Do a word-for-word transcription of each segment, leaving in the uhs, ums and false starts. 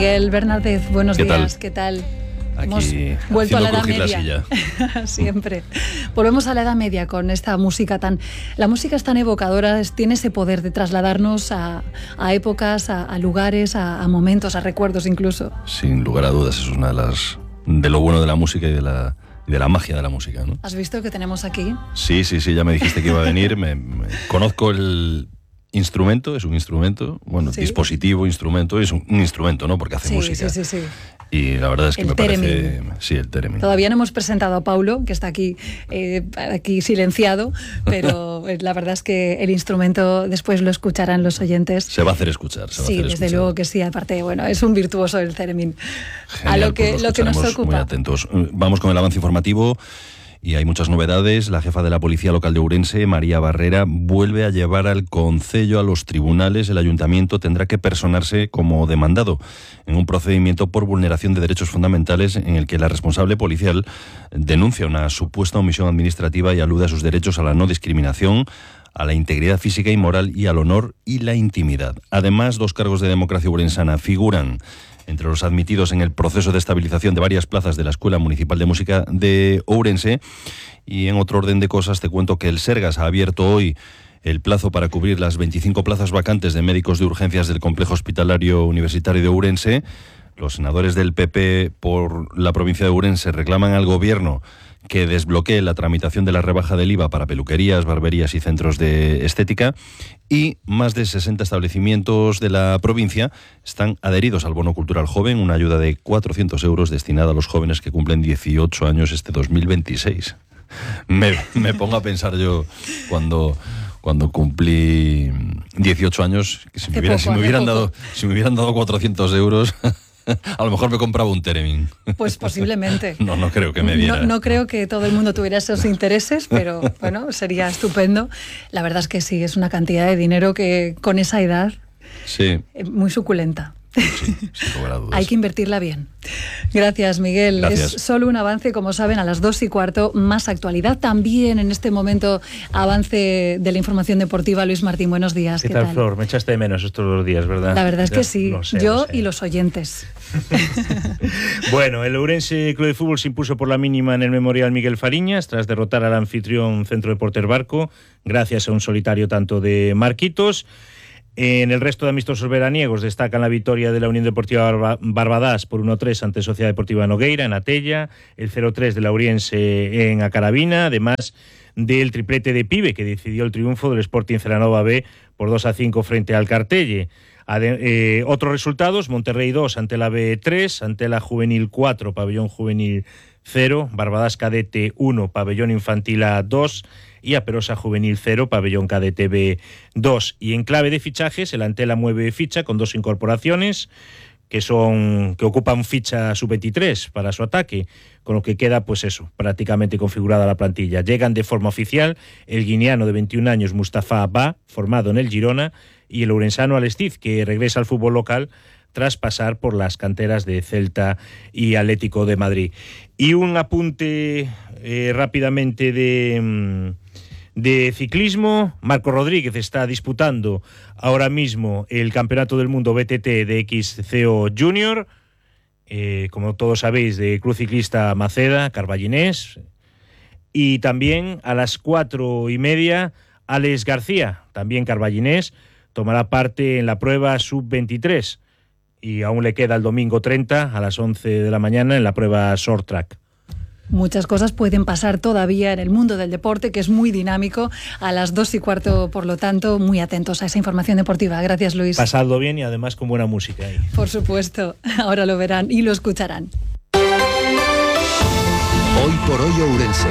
Miguel Bernárdez, buenos ¿Qué días, tal? ¿qué tal? Aquí, Hemos vuelto a la Edad Media. La Siempre. Volvemos a la Edad Media con esta música tan... La música es tan evocadora, es, tiene ese poder de trasladarnos a, a épocas, a, a lugares, a, a momentos, a recuerdos incluso. Sin lugar a dudas, es una de las... de lo bueno de la música y de la... y de la magia de la música, ¿no? ¿Has visto que tenemos aquí? Sí, sí, sí, ya me dijiste que iba a venir. me, me... Conozco el instrumento, es un instrumento, bueno, ¿sí? Dispositivo, instrumento, es un, un instrumento, ¿no? Porque hace sí, música. Sí, sí, sí. Y la verdad es que el me theremin. parece... Sí, el theremin. Todavía no hemos presentado a Paulo, que está aquí, eh, aquí silenciado, pero la verdad es que el instrumento después lo escucharán los oyentes. Se va a hacer escuchar. Se va sí, a hacer desde escuchar. luego que sí. Aparte, bueno, es un virtuoso el theremin. Genial, a lo que, pues lo que nos ocupa. Muy atentos. Vamos con el avance informativo. Y hay muchas novedades. La jefa de la Policía Local de Ourense, María Barrera, vuelve a llevar al concello a los tribunales. El ayuntamiento tendrá que personarse como demandado en un procedimiento por vulneración de derechos fundamentales en el que la responsable policial denuncia una supuesta omisión administrativa y alude a sus derechos a la no discriminación, a la integridad física y moral y al honor y la intimidad. Además, dos cargos de democracia ourensana figuran entre los admitidos en el proceso de estabilización de varias plazas de la Escuela Municipal de Música de Ourense. Y en otro orden de cosas te cuento que el Sergas ha abierto hoy el plazo para cubrir las veinticinco plazas vacantes de médicos de urgencias del Complejo Hospitalario Universitario de Ourense. Los senadores del P P por la provincia de Ourense reclaman al Gobierno que desbloquee la tramitación de la rebaja del I V A para peluquerías, barberías y centros de estética, y más de sesenta establecimientos de la provincia están adheridos al Bono Cultural Joven, una ayuda de cuatrocientos euros destinada a los jóvenes que cumplen dieciocho años este dos mil veintiséis. Me, me pongo a pensar yo cuando... cuando cumplí dieciocho años, que si me, hubiera, poco, si me hubieran dado si me hubieran dado cuatrocientos euros, a lo mejor me compraba un theremin. Pues posiblemente. No, no creo que me diera. No, no creo que todo el mundo tuviera esos intereses, pero bueno, sería estupendo. La verdad es que sí, es una cantidad de dinero que con esa edad, sí, muy suculenta. Sí, sin lugar a dudas. Hay que invertirla bien. Gracias, Miguel. Gracias. Es solo un avance, como saben, a las dos y cuarto, más actualidad. También en este momento, avance de la información deportiva. Luis Martín, buenos días. ¿Qué, ¿Qué tal, tal, Flor? Me echaste de menos estos dos días, ¿verdad? La verdad es que sí. Lo sé, Yo lo sé. Y los oyentes. Bueno, el Ourense Club de Fútbol se impuso por la mínima en el Memorial Miguel Fariñas tras derrotar al anfitrión Centro Deportes Barco, gracias a un solitario tanto de Marquitos. En el resto de amistosos veraniegos destacan la victoria de la Unión Deportiva Barba- Barbadas por uno tres ante Sociedad Deportiva Nogueira en Atella, el cero tres de la Ouriense en Acaravina, además del triplete de Pibe que decidió el triunfo del Sporting Celanova B por dos a cinco frente al Cartelle. Ade- eh, otros resultados: Monterrey dos ante la B tres, ante la Juvenil cuatro, Pabellón Juvenil cero, Barbadas Cadete uno, Pabellón Infantil A dos y Aperosa Juvenil cero, Pabellón Cadete B dos. Y en clave de fichajes, el Antela mueve ficha con dos incorporaciones que son que ocupan ficha sub veintitrés para su ataque, con lo que queda, pues eso, prácticamente configurada la plantilla. Llegan de forma oficial el guineano de veintiún años Mustafa Ba, formado en el Girona, y el ourensano Alestiz, que regresa al fútbol local tras pasar por las canteras de Celta y Atlético de Madrid. Y un apunte eh, rápidamente de... De ciclismo, Marco Rodríguez está disputando ahora mismo el Campeonato del Mundo B T T de X C O Junior, eh, como todos sabéis, de Club Ciclista Maceda, Carballinés, y también a las cuatro y media, Alex García, también carballinés, tomará parte en la prueba sub veintitrés, y aún le queda el domingo treinta a las once de la mañana en la prueba short track. Muchas cosas pueden pasar todavía en el mundo del deporte, que es muy dinámico. A las dos y cuarto, por lo tanto, muy atentos a esa información deportiva. Gracias, Luis. Pasadlo bien y además con buena música ahí. Por supuesto, ahora lo verán y lo escucharán. Hoy por hoy Ourense.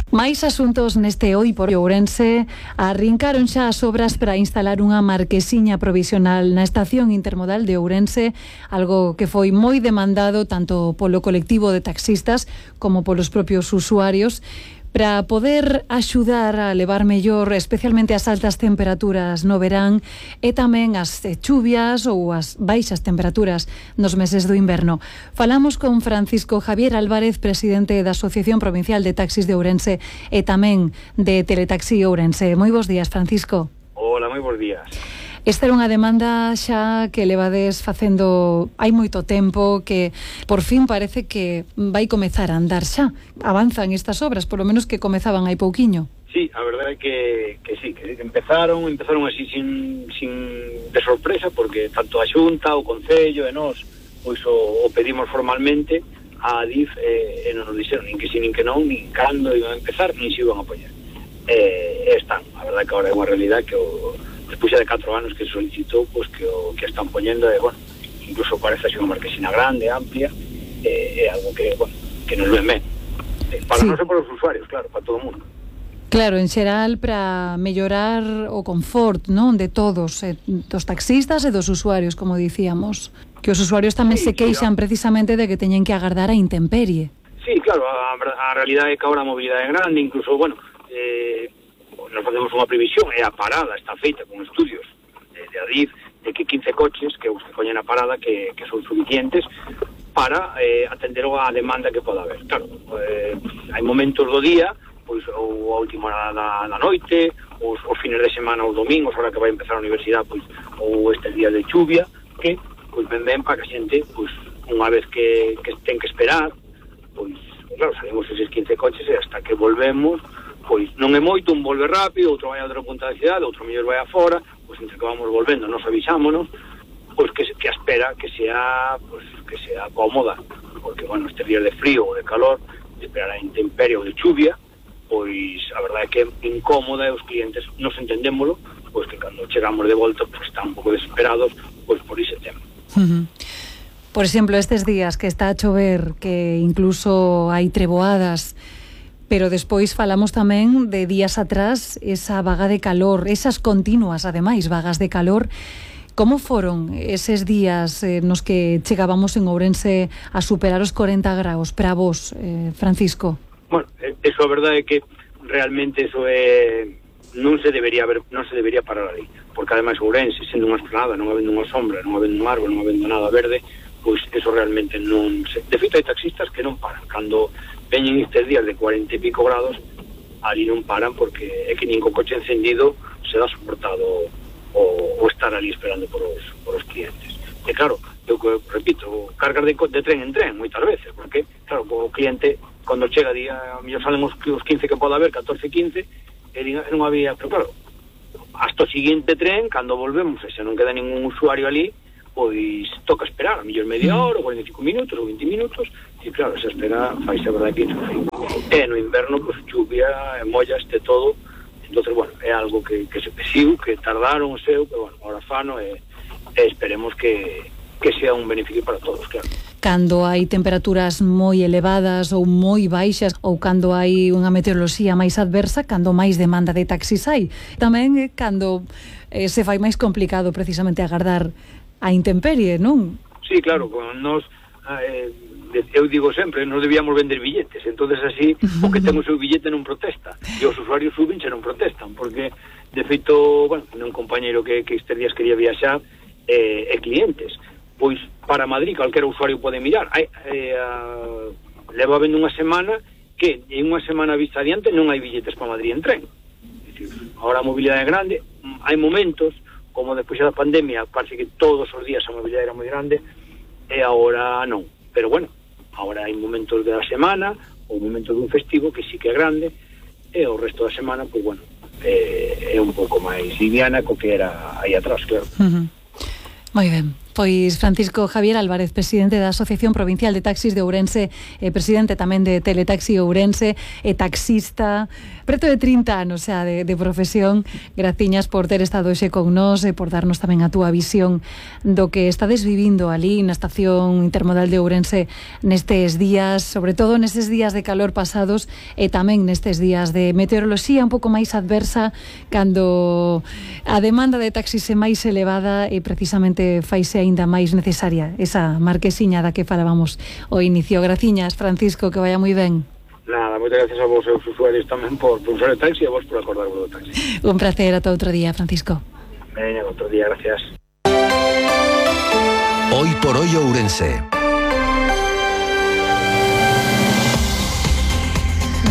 Máis asuntos neste Hoy por Ourense. Arrincaron xa as obras para instalar unha marquesiña provisional na estación intermodal de Ourense, algo que foi moi demandado tanto polo colectivo de taxistas como polos propios usuarios, para poder axudar a levar mellor especialmente as altas temperaturas no verán e tamén as chuvias ou as baixas temperaturas nos meses do inverno. Falamos con Francisco Javier Álvarez, presidente da Asociación Provincial de Taxis de Ourense e tamén de Teletaxi Ourense. Moi bons días, Francisco. Hola, moi bons días. Esta era unha demanda xa que levades facendo hai moito tempo, que por fin parece que vai comezar a andar xa. Avanzan estas obras, polo menos que comezaban hai pouquiño. Sí, a verdade é que, que sí, que empezaron, empezaron así sin, sin de sorpresa, porque tanto a Xunta, o Concello e nós, pois o, o pedimos formalmente a Adif eh, e non nos dixeron nin que sí, nin que non, nin cando iban a empezar, nin se iban a apoiar. E eh, están, a verdade que agora é unha realidade que o, despois de catro anos que se solicitou, pois que o que están poñendo é, bueno, incluso parece así unha marquesina grande, amplia, é eh, algo que, bueno, que nos ven ben. Para sí. Non ser para os usuarios, claro, para todo o mundo. Claro, en xeral para mellorar o confort, non, de todos, eh, dos taxistas e dos usuarios, como dicíamos. Que os usuarios tamén sí, se queixan sí, precisamente de que teñen que agardar a intemperie. Sí, claro, a, a realidade é que agora a mobilidade é grande, incluso, bueno, eh, nos facemos unha previsión, e a parada está feita con estudios de, de Adif, de que quince coches que os que poñen a parada que, que son suficientes para eh, atender a demanda que poda haber. Claro, eh, hai momentos do día, pois ou a última hora da, da noite, os, os fines de semana, os domingos, ahora que vai empezar a universidade, pois ou estes días de chuvia, que pois ven ben para que a xente, pois unha vez que, que ten que esperar, pois claro, salimos eses quince coches e hasta que volvemos, pois non é moito, un volve rápido, outro vai a outra punta da cidade, outro mellor vai afora, pois entre que vamos volvendo, nos avisámonos, pois que, que a espera que sea, pois que sea cómoda, porque bueno, estes días de frío ou de calor, de esperar a intemperie ou de chuvia, pois a verdade é que é incómoda e os clientes nos entendémolo, pois que cando chegamos de volta pois están un pouco desesperados pois por ese tema. Uh-huh. Por exemplo, estes días que está a chover, que incluso hai treboadas, pero despois falamos tamén de días atrás esa vaga de calor, esas continuas, ademais, vagas de calor. Como foron eses días eh, nos que chegábamos en Ourense a superar os corenta graus para vos, eh, Francisco? Bueno, eso a verdade é que realmente eso é non se debería haber, non se debería parar ali, porque ademais Ourense, sendo unha esplanada, non habendo unha sombra, non habendo un árbol, non habendo nada verde, pois eso realmente non se... De feito hai taxistas que non paran, cando veñen estes días de cuarenta e pico grados, ali non paran porque é que nin co coche encendido se dá soportado o, o estar ali esperando por os, por os clientes. E claro, eu repito, cargas de, de tren en tren moitas veces, porque claro, o cliente cando chega día, a mellor salen os, os quince que pode haber, catorce, quince, e non había, pero claro, hasta o seguinte tren, cando volvemos, e se non queda ningún usuario ali, pois toca esperar, a mellor media hora, ou cuarenta e cinco minutos, ou vinte minutos, e claro, esa espera faise a verdade que insufrible. E no inverno, pois chuvia, mollaste todo, entonces, bueno, é algo que, que se pesiu, que tardaron o seu, pero bueno, ahora fano, e, e esperemos que, que sea un beneficio para todos, claro. Cando hai temperaturas moi elevadas ou moi baixas, ou cando hai unha meteoroloxía máis adversa, cando máis demanda de taxis hai. Tamén eh, cando eh, se fai máis complicado precisamente agardar a intemperie, non? Sí, claro, con nos eh, eu digo sempre, nos debíamos vender billetes, entonces así o que ten o seu billete non protesta, e os usuarios suben se non protestan, porque de feito, bueno, un compañeiro que, que estes días quería viaxar eh, e clientes, pois para Madrid calquera usuario pode mirar. Hai, eh, uh, leva vendo unha semana que en unha semana vista adiante non hai billetes para Madrid en tren. É dicir, agora a mobilidade é grande, hai momentos, como despois da pandemia, parece que todos os días a mobilidade era moi grande, e agora non. Pero bueno, agora hai momentos da semana, ou momentos dun festivo que sí que é grande, e o resto da semana, pois bueno, eh, é un pouco máis liviana co que era aí atrás, claro. Uh-huh. Moi ben. Pois Francisco Javier Álvarez, presidente da Asociación Provincial de Taxis de Ourense, e presidente tamén de Teletaxi Ourense, e taxista, preto de trinta anos xa de, de profesión. Graciñas por ter estado hoxe con nós e por darnos tamén a túa visión do que estades vivindo ali na Estación Intermodal de Ourense nestes días, sobre todo nestes días de calor pasados, e tamén nestes días de meteoroloxía un pouco máis adversa, cando a demanda de taxis é máis elevada e precisamente faise aínda máis necesaria esa marquesiña da que falábamos ao inicio. Graciñas, Francisco, que vaya moi ben. Nada, moitas gracias a vos e aos usuarios tamén por, por usar o taxi e a vos por acordarvos do taxi. Un placer, ata outro día, Francisco. Veña, outro día, gracias. Hoy por hoy Ourense.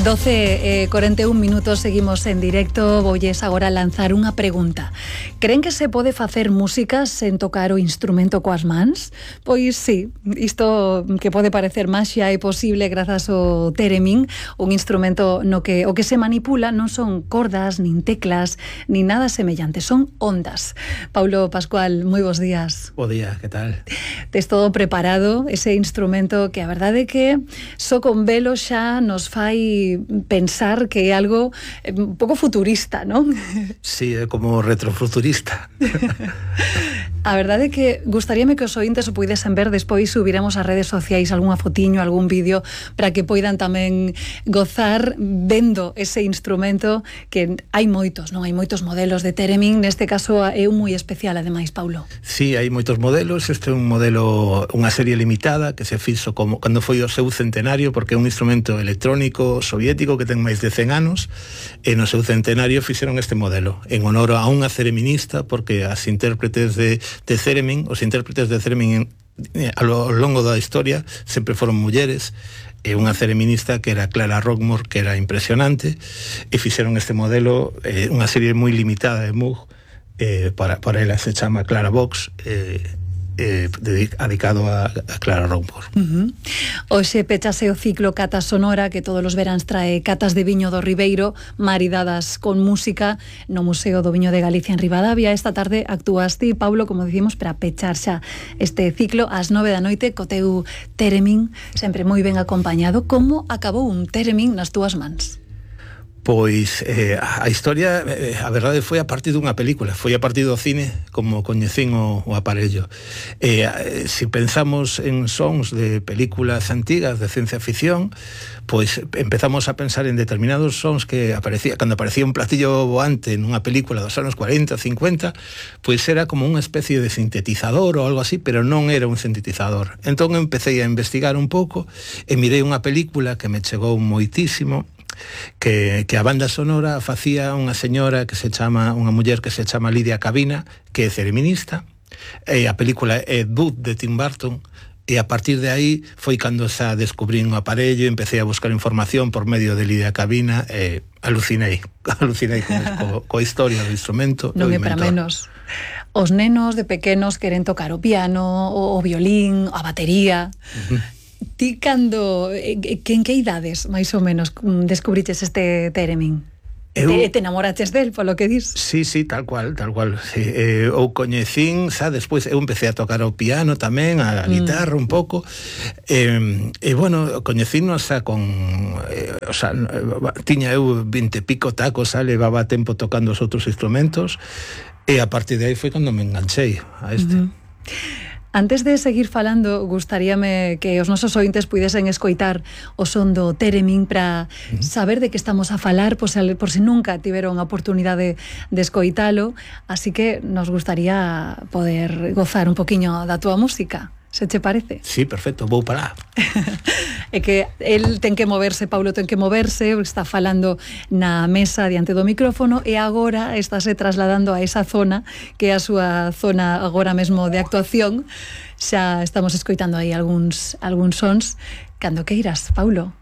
doce e cuarenta y un minutos, seguimos en directo. Voulles agora lanzar unha pregunta. Creen que se pode facer música sen tocar o instrumento coas mans? Pois sí, isto que pode parecer maxia é posible grazas ao theremin, un instrumento no que o que se manipula non son cordas, nin teclas, nin nada semellante, son ondas. Paulo Pascual, moi bons días. Bo día, que tal? Tes todo preparado, ese instrumento que a verdade é que só con velo xa nos fai pensar que é algo un pouco futurista, non? Sí, é como retrofuturista. A verdade é que gustaríame que os ointes o puidesen ver, despois subiremos ás redes sociais algunha fotiño, algún vídeo para que poidan tamén gozar vendo ese instrumento, que hai moitos, non? Hai moitos modelos de theremin, neste caso é un moi especial ademais, Paulo. Sí, hai moitos modelos, este é un modelo, unha serie limitada que se fixo como cando foi o seu centenario, porque é un instrumento electrónico soviético que ten máis de cen anos, e no seu centenario fixeron este modelo en honor a unha thereminista, porque as intérpretes de, de theremin, os intérpretes de theremin a lo longo da historia sempre foron mulleres, e unha thereminista que era Clara Rockmore, que era impresionante, e fixeron este modelo, eh, unha serie moi limitada de Moog, eh, para, para ela se chama Clara Box, eh, eh, dedicado a, a Clara Rockmore. Uh-huh. Hoxe pechase o ciclo Cata Sonora, que todos os veráns trae catas de viño do Ribeiro, maridadas con música, no Museo do Viño de Galicia en Ribadavia. Esta tarde actúas ti, Paulo, como dicimos, para pechar xa este ciclo ás nove da noite co teu theremin, sempre moi ben acompañado. Como acabou un theremin nas túas mans? Pois eh, a historia, eh, a verdade, foi a partir dunha película, foi a partir do cine como coñecín o, o aparello. Eh, eh, se pensamos en sons de películas antigas de ciencia ficción, pois empezamos a pensar en determinados sons que aparecía, cando aparecía un platillo voante nunha película dos anos cuarenta, cincuenta, pois era como unha especie de sintetizador ou algo así, pero non era un sintetizador. Entón empecé a investigar un pouco e mirei unha película que me chegou moitísimo, que, que a banda sonora facía unha señora que se chama, unha muller que se chama Lidia Cabina, que é thereminista, e a película é Bud de Tim Burton, e a partir de aí foi cando xa descubrín o aparello, empecé a buscar información por medio de Lidia Cabina, e alucinei, alucinei co, co historia do instrumento. Non é para menos. Os nenos de pequenos queren tocar o piano, o, o violín, a batería. Uh-huh. Ti cando, que en que idades, máis ou menos, descubriches este theremin? Eu... Te, te enamoraches del, polo que dis? Sí, sí, tal cual, tal cual. Sí, eh, ou coñecín, xa, despois eu empecé a tocar o piano tamén, a guitarra mm. un pouco, e, e bueno, coñecínos xa con, eh, o sea, tiña eu vinte e pico tacos, xa, levaba tempo tocando os outros instrumentos, e a partir de aí foi cando me enganchei a este. Mm-hmm. Antes de seguir falando, gustaríame que os nosos ointes puidesen escoitar o son do theremin para uh-huh. saber de que estamos a falar, por se, por se nunca tiveron a oportunidade de escoitalo, así que nos gustaría poder gozar un poquinho da túa música. Se che parece? Sí, perfecto, vou para lá. É que el ten que moverse, Paulo ten que moverse, está falando na mesa diante do micrófono e agora estáse trasladando a esa zona que é a súa zona agora mesmo de actuación. Xa estamos escoitando aí algúns, algúns sons. Cando queiras, Paulo.